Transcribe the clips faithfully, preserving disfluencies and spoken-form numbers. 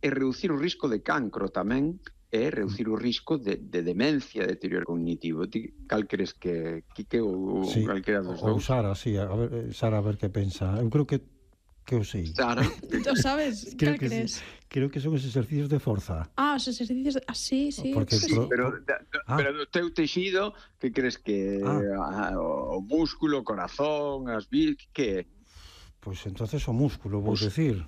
e reducir o risco de cancro tamén, e reducir o risco de, de demencia, de deterioro cognitivo. Ti, cal crees que, Quique, ou sí, calquera dos ou dous? Sara, sí, a ver, Sara, a ver que pensa. Eu creo que que eu sei. Sara? Tú sabes, creo cal que crees? creo que son os exercicios de forza. Ah, os exercicios... De... Ah, sí, sí, Porque creo que Sí, sí. pero, Pro- da, da, Ah. pero do teu texido, que crees que Ah. ah, o músculo, o corazón, as vis, que é? Pois entonces o músculo, vou Pois- decir.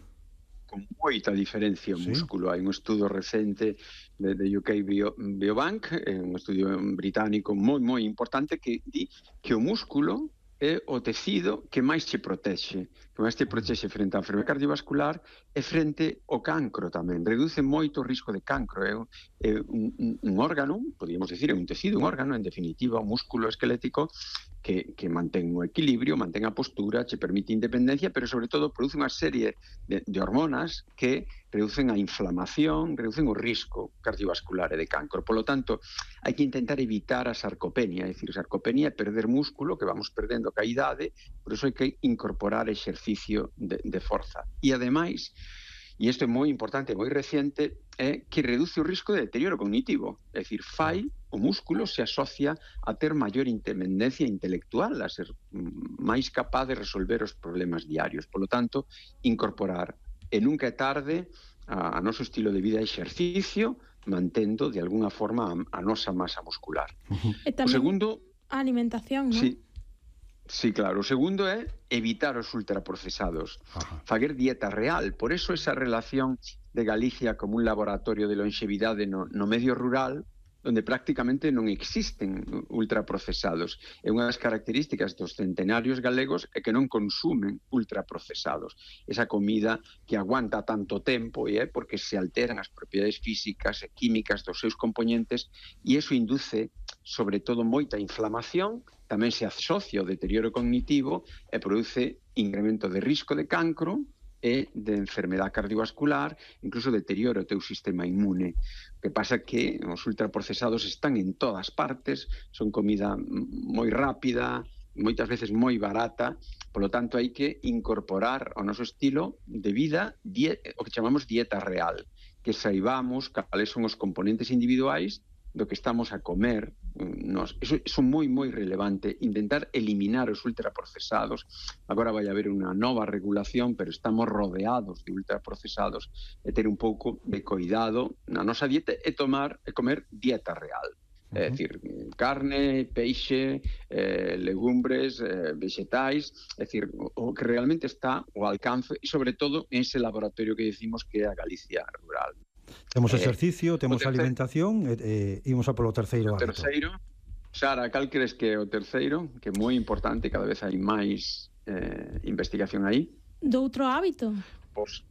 Con moita diferencia o Sí. músculo. Hai un estudo recente de, de U K Bio, Biobank, eh, un estudio británico moi, moi importante que di que o músculo é o tecido que máis che protexe, que máis te protexe frente á enfermedade cardiovascular e frente ao cancro tamén. Reduce moito o risco de cancro. É un, é un, un, un órgano, podríamos decir, é un tecido, un órgano, en definitiva, un músculo esquelético que, que mantén o equilibrio, mantén a postura, che permite independencia, pero sobre todo produce unha serie de, de hormonas que reducen a inflamación, reducen o risco cardiovascular e de cancro. Por lo tanto, hai que intentar evitar a sarcopenia, é dicir, sarcopenia é perder músculo que vamos perdendo ca idade, por iso hai que incorporar exercicio de, de forza. E ademais, e isto é moi importante, moi reciente, é que reduce o risco de deterioro cognitivo, é dicir, fai o músculo se asocia a ter maior independencia intelectual, a ser máis capaz de resolver os problemas diarios. Por lo tanto, incorporar, e nunca é tarde, a, a noso estilo de vida e exercicio, mantendo de alguna forma a, a nosa masa muscular. E O tamén segundo, a alimentación, non? sí, sí, claro. O segundo é evitar os ultraprocesados. Ajá. Faguer dieta real. Por eso esa relación de Galicia como un laboratorio de longevidade no, no medio rural, onde prácticamente non existen ultraprocesados. É unha das características dos centenarios galegos é que non consumen ultraprocesados. Esa comida que aguanta tanto tempo e é porque se alteran as propiedades físicas e químicas dos seus componentes e iso induce, sobre todo, moita inflamación, tamén se asocia ao deterioro cognitivo e produce incremento de risco de cancro e de enfermedade cardiovascular, incluso deterioro o teu sistema inmune. O que pasa que os ultraprocesados están en todas partes, son comida moi rápida, moitas veces moi barata, polo tanto hai que incorporar ao noso estilo de vida die, o que chamamos dieta real, que saibamos cales son os componentes individuais do que estamos a comer. Nos, eso, eso é moi, moi relevante, intentar eliminar os ultraprocesados. Agora vai haber unha nova regulación, pero estamos rodeados de ultraprocesados e ter un pouco de cuidado na nosa dieta e tomar e comer dieta real. Uh-huh. É dicir, carne, peixe, eh, legumbres, eh, vegetais, é dicir, o, o que realmente está ao alcance e, sobre todo, en ese laboratorio que decimos que é a Galicia rural. Temos exercicio, eh, temos terceiro, alimentación e eh, imos a polo terceiro hábito. O terceiro, Sara, cal crees que é o terceiro? Que é moi importante, cada vez hai máis eh, investigación aí. Do outro hábito? Pois,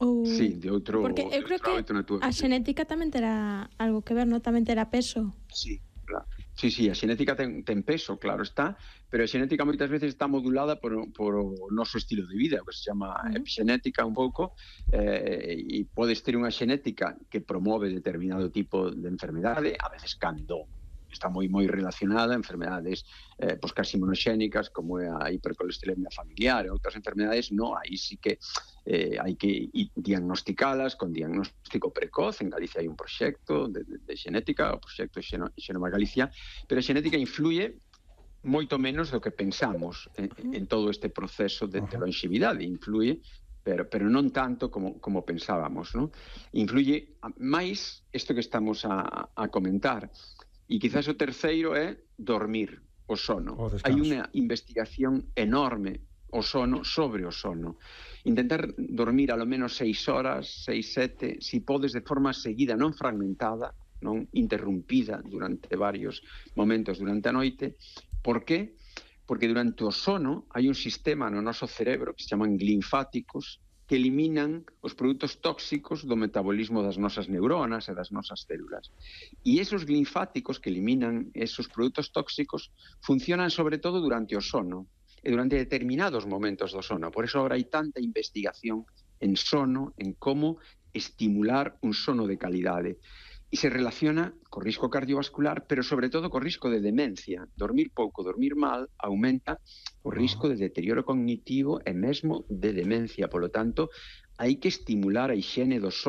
Ou... sí, de outro, porque eu creo que a xenética tamén terá algo que ver, non? Tamén terá peso. Sí, claro. Sí, sí, a xenética ten, ten peso, claro está, pero a xenética moitas veces está modulada por, por o noso estilo de vida, o que se chama uh-huh. epixenética un pouco, eh, e podes ter unha xenética que promove determinado tipo de enfermedade, a veces cando está moi moi relacionada a enfermedades eh, pois casi monoxénicas como é a hipercolesterolemia familiar e outras enfermedades, no, aí sí que eh, hai que diagnosticalas con diagnóstico precoz. En Galicia hai un proxecto de, de, de xenética, o proxecto Xeno, Xenoma Galicia, pero a xenética influye moito menos do que pensamos en, en todo este proceso de, de longevidade, influye pero pero non tanto como como pensábamos, ¿no? Influye máis isto que estamos a, a comentar. E quizás o terceiro é dormir, o sono. Hai unha investigación enorme o sono sobre o sono. Intentar dormir alo menos seis horas, seis, sete, si podes de forma seguida, non fragmentada, non interrumpida durante varios momentos durante a noite. Por que? Porque durante o sono hai un sistema no noso cerebro que se chaman linfáticos que eliminan os produtos tóxicos do metabolismo das nosas neuronas e das nosas células. E esos linfáticos que eliminan esos produtos tóxicos funcionan sobre todo durante o sono e durante determinados momentos do sono. Por eso agora hai tanta investigación en sono, en como estimular un sono de calidade. E se relaciona co risco cardiovascular, pero sobre todo co risco de demencia. Dormir pouco, dormir mal, aumenta o risco de deterioro cognitivo e mesmo de demencia. Por lo tanto, hai que estimular a higiene do sono,